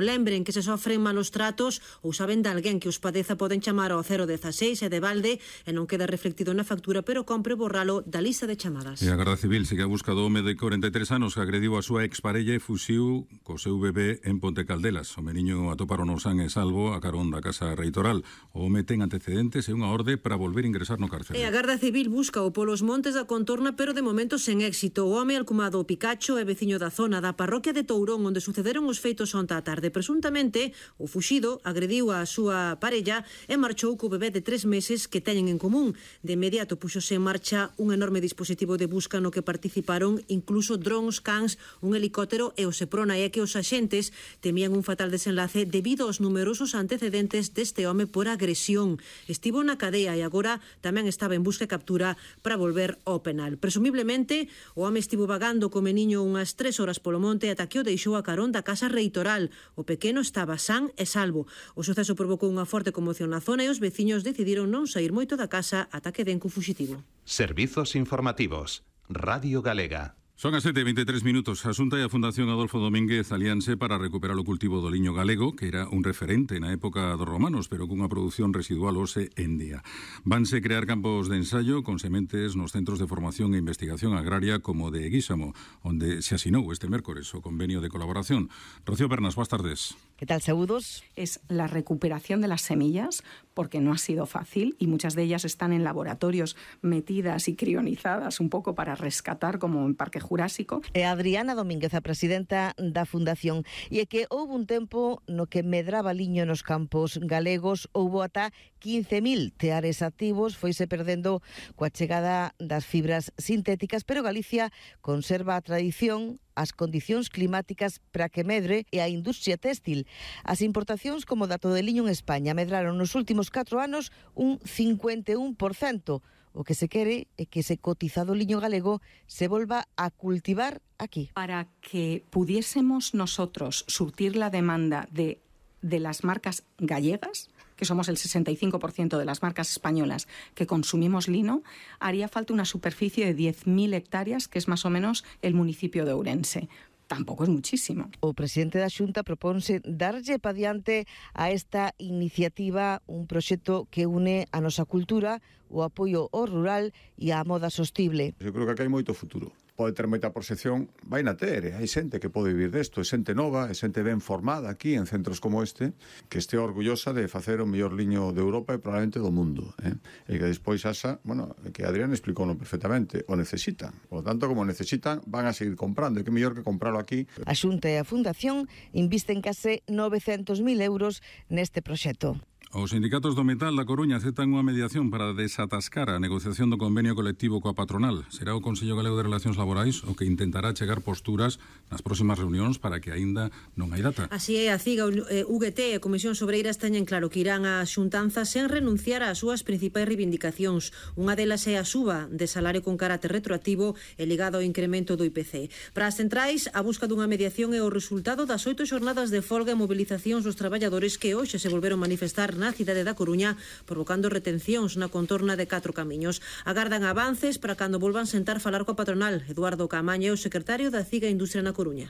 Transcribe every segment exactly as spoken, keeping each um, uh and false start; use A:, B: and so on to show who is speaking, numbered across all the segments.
A: Lembren que se sofren malos tratos ou saben de alguén que os padeza poden chamar ao cero dieciséis e de balde e non queda reflectido na factura, pero compre borralo da lista de chamadas.
B: E a Garda Civil sigue a busca do home de corenta e tres anos que agrediu a súa exparella e fuxiu co seu bebé en Ponte Caldelas. O meniño atoparon o san e salvo a carón da Casa Reitoral. O home ten antecedentes e unha orde para volver a ingresar no cárcere.
A: E a Garda Civil busca o polos montes da contorna, pero de momento sen éxito. O home alcumado o Picacho é veciño da zona da parroquia de Tourón, onde sucederon os feitos onta a tarde. Presuntamente, o fuxido agrediu a súa parella e marchou co bebé de tres meses que teñen en común. De inmediato puxose en marcha un enorme dispositivo de busca no que participaron incluso drons, cans, un helicóptero e o Seprona. E que os axentes temían un fatal desenlace debido aos numerosos antecedentes deste home por agresión. Estivo na cadea e agora tamén estaba en busca e captura para volver ao penal. Presumiblemente, o home estivo vagando co meniño unhas tres horas polo monte ata que o deixou a carón da Casa Reitoral. O pequeno estaba san e salvo. O suceso provocou unha forte conmoción na zona e os veciños decidiron non sair moito da casa ata que den co fuxitivo.
C: Servizos informativos. Radio Galega.
B: Son as sete e vinte e tres minutos. A Xunta e a Fundación Adolfo Domínguez alíanse para recuperar o cultivo do liño galego, que era un referente na época dos romanos, pero cunha produción residual hoxe en día. Vanse crear campos de ensaio con sementes nos centros de formación e investigación agraria como de Guísamo, onde se asinou este mércores o convenio de colaboración. Rocío Pernas, boas tardes.
D: ¿Qué tal, saludos?
E: Es la recuperación de las semillas, porque no ha sido fácil y muchas de ellas están en laboratorios metidas y crionizadas un poco para rescatar, como en Parque Jurásico.
D: É Adriana Domínguez, a presidenta da Fundación, e é que houve un tempo no que medraba liño nos campos galegos, houve ata quince mil teares activos, foise perdendo coa chegada das fibras sintéticas, pero Galicia conserva a tradición, as condicións climáticas para que medre e a industria téxtil. As importacións como dato de liño en España medraron nos últimos catro anos un cincuenta e un por cento. O que se quere é que ese cotizado liño galego se volva a cultivar aquí.
E: Para que pudiésemos nosotros surtir la demanda de, de las marcas gallegas, que somos el sesenta y cinco por ciento de las marcas españolas que consumimos lino, haría falta una superficie de diez mil hectáreas, que es más o menos el municipio de Ourense. Tampouco es muchísimo.
D: O presidente da Xunta proponse darlle pa diante a esta iniciativa un proxecto que une a nosa cultura, o apoio ao rural e á moda sostible.
F: Eu creo que aquí hai moito futuro. Pode ter moita proxección, vai na ter, hai xente que pode vivir desto, é xente nova, é xente ben formada aquí en centros como este, que este orgullosa de facer o mellor liño de Europa e probablemente do mundo, eh? E que despois asa, bueno, que Adrián explicou perfectamente, o necesitan. Por lo tanto, como necesitan, van a seguir comprando, e que mellor que comprarlo aquí.
D: A Xunta e a Fundación invisten case novecentos mil euros neste proxecto.
B: Os sindicatos do metal da Coruña aceptan unha mediación para desatascar a negociación do convenio colectivo coa patronal. Será o Consello Galego de Relacións Laborais o que intentará chegar posturas nas próximas reunións para que aínda non hai data.
A: Así é, a CIGA, U G T e a Comisión Sobreiras teñen claro que irán á xuntanza sen renunciar ás súas principais reivindicacións. Unha delas é a suba de salario con carácter retroactivo e ligado ao incremento do I P C. Para as centrais, a busca dunha mediación é o resultado das oito xornadas de folga e mobilizacións dos traballadores que hoxe se volveron manifestar na cidade da Coruña, provocando retencións na contorna de Catro Camiños. Agardan avances para cando volvan sentar falar coa patronal. Eduardo Camaño, o secretario da CIGA Industria na Coruña.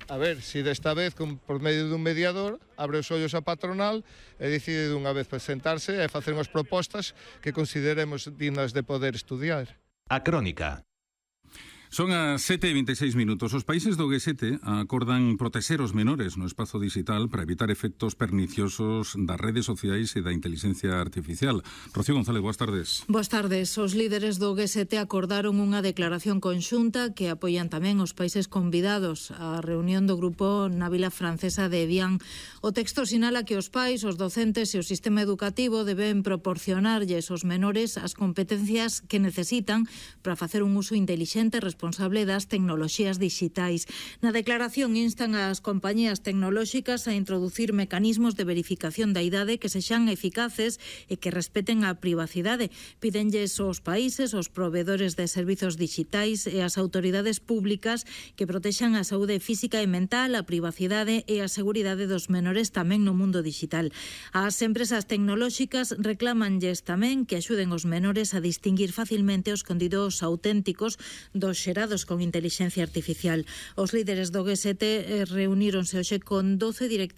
G: A ver, si desta vez, con, por medio dun mediador, abre os ollos a patronal e decide dunha vez presentarse e facer unhas propostas que consideremos dignas de poder estudiar.
C: A Crónica.
B: Son as sete e vinte e seis minutos. Os países do G sete acordan protexer os menores no espazo digital para evitar efectos perniciosos das redes sociais e da inteligencia artificial. Rocío González, boas tardes.
H: Boas tardes. Os líderes do G sete acordaron unha declaración conxunta que apoian tamén os países convidados á reunión do grupo na vila francesa de Evian. O texto sinala que os pais, os docentes e o sistema educativo deben proporcionarlles aos menores as competencias que necesitan para facer un uso inteligente e responsable das tecnoloxías digitais. Na declaración instan ás compañías tecnolóxicas a introducir mecanismos de verificación da idade que sexan eficaces e que respeten a privacidade. Pídenlles aos países, aos provedores de servizos digitais e ás autoridades públicas que protexan a saúde física e mental, a privacidade e a seguridade dos menores tamén no mundo digital. As empresas tecnolóxicas reclamanlles tamén que axuden os menores a distinguir facilmente os contidos auténticos dos xerados con inteligencia artificial. Os líderes do G sete reuníronse hoxe con doce directivos